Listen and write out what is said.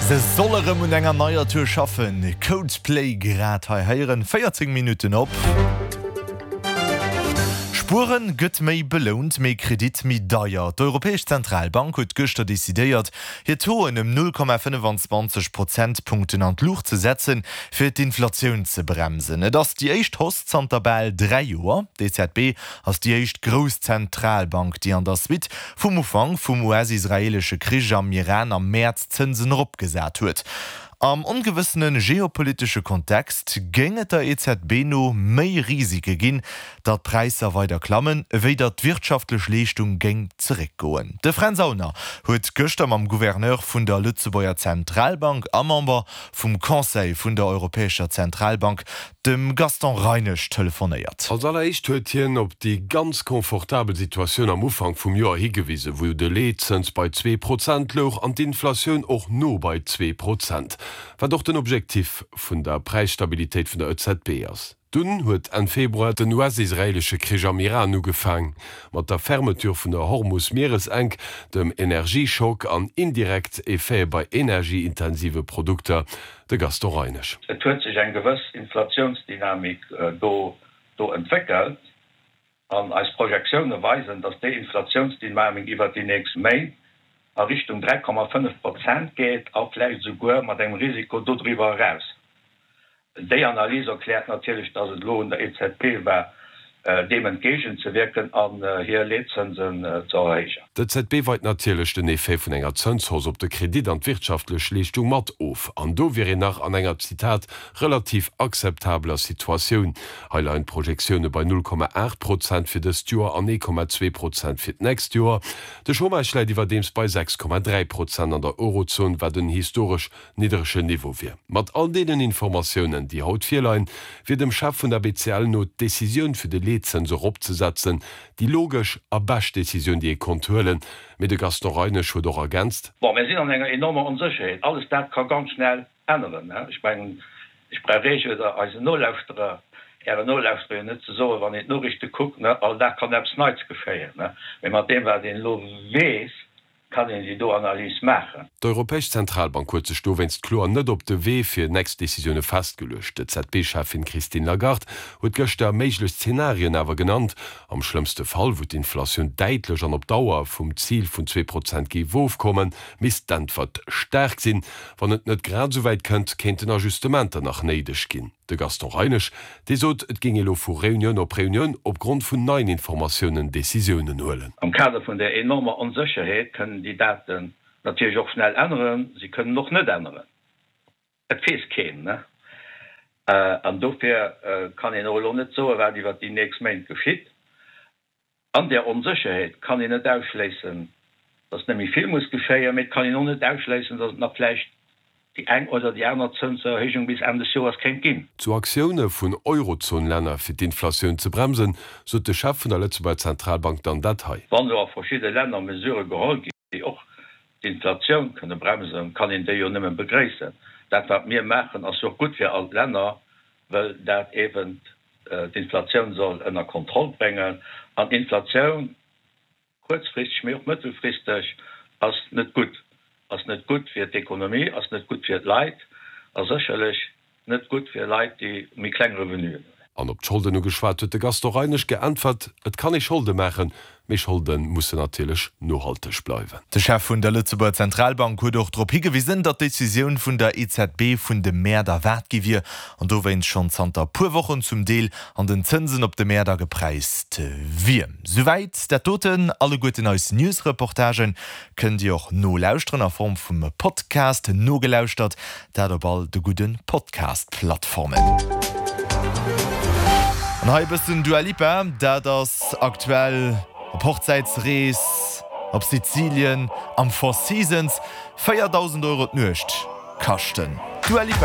Se soll erëm un enger neier Tour schaffen. Coldplay grad hei héieren, 14 Minutten op. Spueren gëtt méi belount, mee Kredit méi deier. D'Europäesch Zentralbank huet gëschter decidéiert, hir Tauxen ëm 0,25 Prozentpunkten an d'Luucht ze setzen, fir d'Inflatioun ze bremsen. Et ass déi éischt Hausse zanter bal 3 Joer. D'EZB ass déi éischt grouss Zentralbank, déi an der Suite vum Ufank vum US-israeelesche Krich am Iran am Mäerz d'Zënsen eropgesat huet. Am ongewëssene geopolitesche Kontext géing et der EZB no méi Risike ginn, datt d'Präisser weider klammen, ewéi datt d'wirtschaftlech Leeschtung géing zeréckgoen. De Fränz Aulner huet gëschter mam Gouverneur vun der Lëtzebuerger Zentralbank a Member vum Conseil vun der Europäescher Zentralbank, dem Gaston Reinesch telefonéiert. Als alleréischt huet hien op déi ganz confortabel Situatioun am Ufank vum Joer higewisen, wou de Leetzëns bei 2% louch an d'Inflatioun och no bei 2%, wat och den Objektif vun der Präisstabilitéit vun der EZB ass. Dunn huet Enn Februar den US-israeelesche Krich am Iran ugefaang, mat der Fermeture vun der Hormus-Mieresenk, dem Energieschock an indirekt Effete bei energieintensive Produkter. De Gaston Reinesch. Et huet sech eng gewëss Inflatiounsdynamik do do entwéckelt an eis Projektioune weisen, datt déi Inflatiounsdynamik iwwert déi nächst Méint a Richtung 3,5 Prozent geet a vläicht esouguer mat engem Risiko dodriwwer eraus. Déi Analys erkläert natierlech, datt et elo un der EZB war, deem entgéigent ze wierken an hir Leetzënsen ze erhéijen. D'EZB weit natierlech den Effet vun enger Zënshausse op de Kredit an d'wirtschaftlech Leeschtung mat of. An do wier een nach an enger, Zitat, relativ akzeptabeler Situatioun. Hei leien d'Projektioune bei 0,8 Prozent fir dëst Joer an 1,2 Prozent fir d'nächst Joer. De Chômage läit iwwerdeems bei 6,3 Prozent an der Eurozon, wat en historesch niddregen Niveau wier. Mat all deenen Informatiounen, déi haut virleien, wier dem Chef vun der BCL no d'Decisioun fir de Leetzëns eropzesetzen déi logesch a bescht Decisioun, déi ee konnt huelen. Mee de Gaston Reinesch huet och ergänzt. Bon, mir sinn an enger enormer Onsécherheet. Alles dat ka ganz schnell änneren. Ech mengen, ech brauch Iech oder eisen Nolauschterer, Ären Nolauschterer jo net ze soen, wann een d'Noriichte kuckt, all Dag kann eppes Neits geschéien. Mee mat deem, wat een elo weess, Kann een déi do Analys maachen? D'Europäesch Zentralbank huet sech dowéinst kloer net op de Wee fir nächst Decisioune festgeluecht. D'EZB-Cheffin Christine Lagarde huet gëschter méiglech Zenarien awer genannt. Am schlëmmste Fall, wou d'Inflatioun däitlech an op Dauer vum Zil vun 2% géif ofkommen, misst d'Äntwert staark sinn. Wann et net grad esou wäit kënnt, kéinten Ajustementer nach néideg ginn. De Gaston Reinesch, dee sot, et géing ee lo vu Reunioun op Reunioun op Grond vun neien Informatiounen Decisiounen huelen. Am Kader vun där enormer Onsécherheet kënnen déi Daten natierlech och schnell änneren, se kënnen och net änneren. Et weess keen, ne? An dofir kann een och elo net soen, wat iwwert déi nächst Méint geschitt. An där Onsécherheet kann een net ausschléissen, datt net méi vill muss geschéien, mee et kann een och net ausschléissen, datt et nach vläicht déi eng oder déi aner Zënserhéijung bis Enn des Joers kéint ginn. Zu Aktioune vun Eurozon-Länner fir d'Inflatioun ze bremsen, sot de Chef vun der Lëtzebuerger Zentralbank dann dat hei. Wann elo a verschidde Länner Mesurë geholl ginn, déi och d'Inflatioun kënne bremsen, kann een déi jo nëmme begréissen. Dat wat mir maachen, ass jo och gutt fir all d'Länner, well dat eeben d'Inflatioun soll ënner Kontroll bréngen. An Inflatioun, kuerzfristeg, mee och mëttelfristeg, ass net gutt. Ass net gutt fir d'Ekonomie, ass net gutt fir d'Leit a sécherlech net gutt fir Leit, déi méi kleng Revenuen hunn. An op d'Scholden ugeschwat, huet de Gaston Reinesch geäntwert, Et kann ee Scholde maachen, mee Scholde mussen natierlech nohalteg bleiwen. De Chef vun der Lëtzebuerger Zentralbank huet och drop higewisen, datt d'Decisioun vun der EZB vun de Mäert erwaart gi wier an dowéinst schonn zanter puer Wochen zum Deel an den Zënsen op de Mäert agepräist wier. Souwäit dat doten. Alleguerten eis News-Reportagen kënnt Dir och nolauschteren a Form vum Podcast, nogelauschtert dat op all de gudde Podcast-Plattformen. An hei e bëssen Dua Lipa, dat ass aktuell op Hochzäitsrees op Sizilien am Four Seasons, 4.000 Euro d'Nuecht kaschten d'Dua Lipa.